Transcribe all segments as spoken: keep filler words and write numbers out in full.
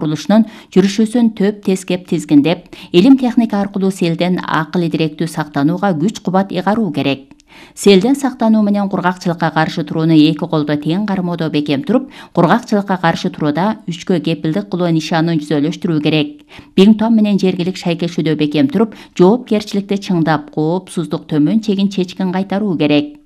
курулушунун жүрүшүүсүн төп тескеп тизгиндеп, илим техника аркылуу селден акыл идиректүү сактанууга күч кубат ыйгаруу керек. Селден сактануу менен кургакчылыкка каршы турууну эки колдо тең кармоодо бекем туруп, кургакчылыкка каршы турууда үчкө кепилдик кылуу нишанын жүзөлөштүрүү керек. Бингтон менен жергилик шайкешүүдө бекем туруп, жоопкерчиликти чыңдап, коопсуздук төмөн чегин чечкин кайтаруу керек.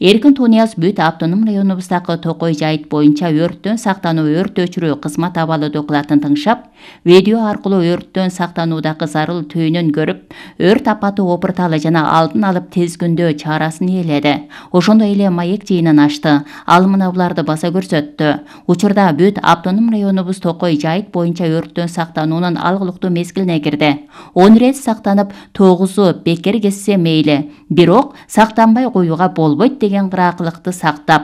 Эркин Тунияз бүт автоном районубуздагы Токой жайыт боюнча өрттөн сактануу өрт өчүрүү кызмат абалы докладын тыңшап, видео аркылуу өрттөн сактануудагы зарыл түйүнүн көрүп, өрт апаты опурталы жана алдын алып тезгүндөө чарасын ээледи. Ошондой эле маек жыйынын ачты. Ал мына буларды баса көрсөттү. Учурда бүт автоном районубуз Токой жайыт боюнча өрттөн сактануунун алгылыктуу мезгилине кирди. он рет сактанып, тогузу бекер кетсе мейли, бирок сактанбай коюуга болбойт деген кыраакылыкты сактап,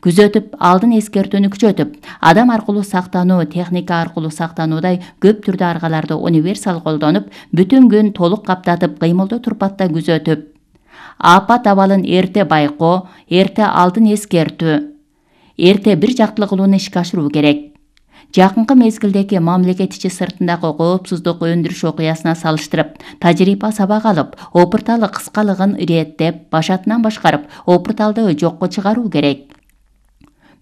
күзөтүп, алдын эскертүүнү күчөтүп, адам аркылуу сактануу, техника аркылуу сактануудай көп түрдүү аргаларды универсал колдонуп, бүтүн күн толук каптатып, кыймылдуу турпатта күзөтүп, апат абалын эрте байкоо, эрте алдын эскертүү, эрте бир жактылуу кылууну ишке ашыруу керек. Жакынкы мезгилдеги мамлекет ичи сыртындагы коопсуздук өндүрүш окуясына салыштырып, тажрыйба сабак алып, опурталы кыскалыгын иреттеп, башатынан башкарып, опурталды жокко чыгаруу керек.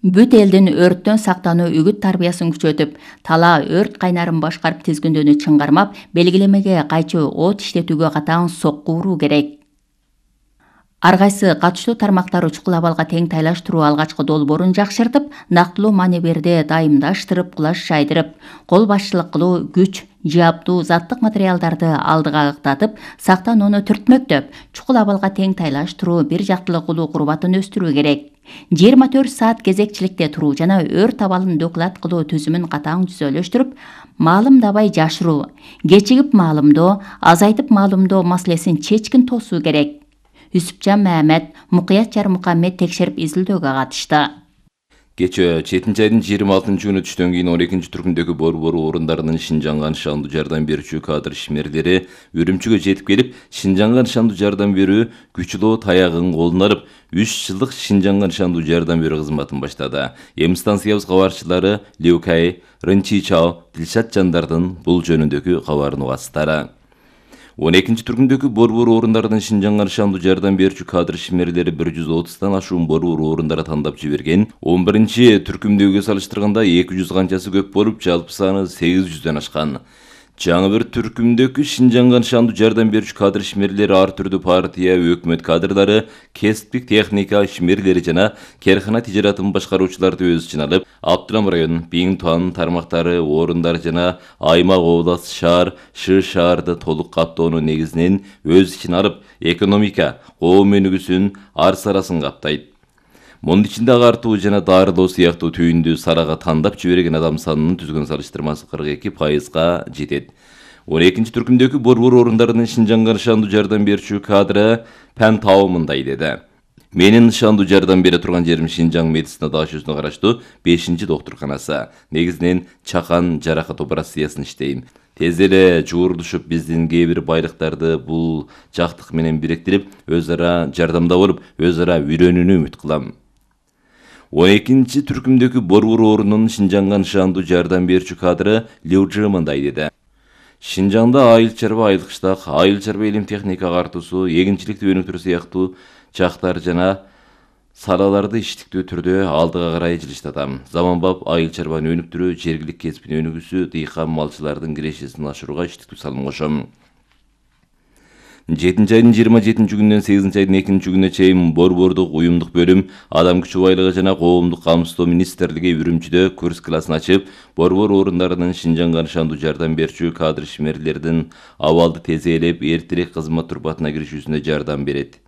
Бүт элдин өрттөн сактануу үгүт тарбиясын күчөтүп, талаа өрт кайнарын башкарып тизгүндөөнү чыңгармап, белгилемеге кайчу от иштетүүгө катаң сокку уруу керек. Ар кайсы катыштуу тармактар учкул абалга тең тайлаштыруу алгачкы долбоорун жакшыртып, нактылуу маневрди дайымдаштырып, кулаш жайдырып, кол башчылык кылуу, күч, жабдуу, заттык материалдарды алдыга ыктатып, сактанууну түртмөктөп, чукул абалга тең тайлаштыруу, бир жактылуу кылуу курбатын өстүрүү керек. жыйырма төрт саат кезекчиликте туруу жана өрт абалын доклад кылуу түзүмүн катаң түзөлөштүрүп, маалымдабай жашыруу, кечигип маалымдоо, азайтып маалымдоо маселесин чечкин тосуу керек. Үсүпжан Мамед, Мукуят Жармухаммед текшерип изилдөөгө катышты. Кечээ жетинчи айдын жыйырма алтынчы күнү түштөн кийин он экинчи түркүмдөгү борбор орундарынын Шинжаңга нышандуу жардам берүүчү кадр ишмерлери Үрүмчүгө жетип келип, Шинжаңга нышандуу жардам берүү күчлөө таягын колуна алып, үч жылдык Шинжаңга нышандуу жардам берүү кызматын баштады. Эми станциябыз кабарчылары Леукай, Рынчичао, Дилшат Жандардын бул жөнүндөгү кабарын угасыздар. он экинчи түркүмдөгү борбор орундарынын Шинжаңга нышандуу жардам берүүчү кадр ишмерлери бир жүз отуздан ашуун борбор орундары тандап жиберген. он биринчи түркүмдөгүгө салыштырганда эки жүз канчасы көп болуп, жалпы саны сегиз жүздөн ашкан. Жаңы бир түркүмдөгү Шинжаңга нышандуу жардам берүүчү кадр ишмерлери ар түрдүү партия, өкмөт кадрдары, кесиптик техника ишмерлери жана керкана тижаратын башкаруучуларды өз ичине алып, Абдырам район, Бингтон тармактары, орундар жана аймак, область, шаар, шы шаарды толук каптоонун негизинен өз ичине алып, экономика, коом өнүгүүсүн, ар-сарасын каптайт. Мунун ичинде агартуу жана дарылоо сыяктуу түйүндү сарага тандап жиберген адам санынын түзгөн салыштырмасы кырк эки пайызга жетет. он экинчи түркүмдөгү борбор орундарынын Шинжаңга нышандуу жардам берүүчү кадры Пен Тау мындай деди. Менин нышандуу жардам бере турган жерим Шинжаң медицина дашүүсүнө караштуу бешинчи доктурканасы. Негизинен чакан жаракат операциясын иштейм. Тез эле жуурдушуп, биздин кээ бир байлыктарды бул жактык менен бириктирип, өз ара жардамда болуп, өз ара үйрөнүүнү үмүт кылам. он экинчи түркүмдөгү борбор орунунун Шинжаңга нышандуу жардам берүүчү кадры Леужи мындай деди. Шинжаңда айыл чарба, айыл кыштак, айыл чарба илим техника агартуусу, эгинчиликти өнүктүрүү сыяктуу жактар жана салаларды иштиктүү түрдө алдыга карай жылыштатам. Заманбап айыл чарбаны өнүктүрүү, жергилик кесиптин өнүгүүсү, дыйкан малчылардын кирешесин ашырууга иштиктүү салым кошом. жетинчи айдын жыйырма жетинчи күнүнөн сегизинчи айдын экинчи күнүнө чейин борбордук уюмдук бөлүм Адам күчү байлыгы жана коомдук камсыздоо министрлиги Үрүмчүдө курс классын ачып, борбор орундарынын Шинжаңга нышандуу жардам берүүчү кадр ишмерлердин абалды тез ээлеп, эртерээк кызмат турпатына киришүүсүнө жардам берет.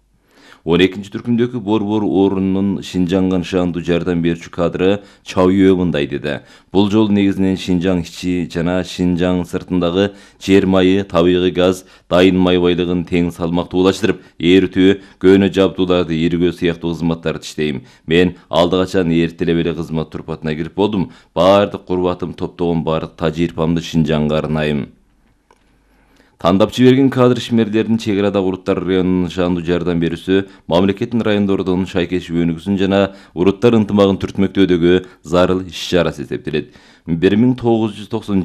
он экинчи түркүмдөгү борбор орунунун Шинжаңга нышандуу жардам берүүчү кадры Чаүйө мындай деди. Бул жолу негизинен Шинжаң ичи жана Шинжаң сыртындагы жер майы, табигый газ, дайын май байлыгын тең салмактуулаштырып, ээртүү, көөнө жабдууларды иргөө сыяктуу кызматтарды иштейм. Мен алды качан эртелеп эле кызмат турпатына кирип болдум. Баардык курбатым, топтогон баардык тажрыйбамды Шинжаңга арнайм. Тандап жиберген кадр ишмерлеринин чек арада уруттар районунун нышандуу жардам берүүсү мамлекеттин райондордун шайкешүү өнүгүүсүн жана уруттар ынтымагын түртмөктөөдөгү зарыл иш-чарасы эсептелет. бир миң тогуз жүз токсон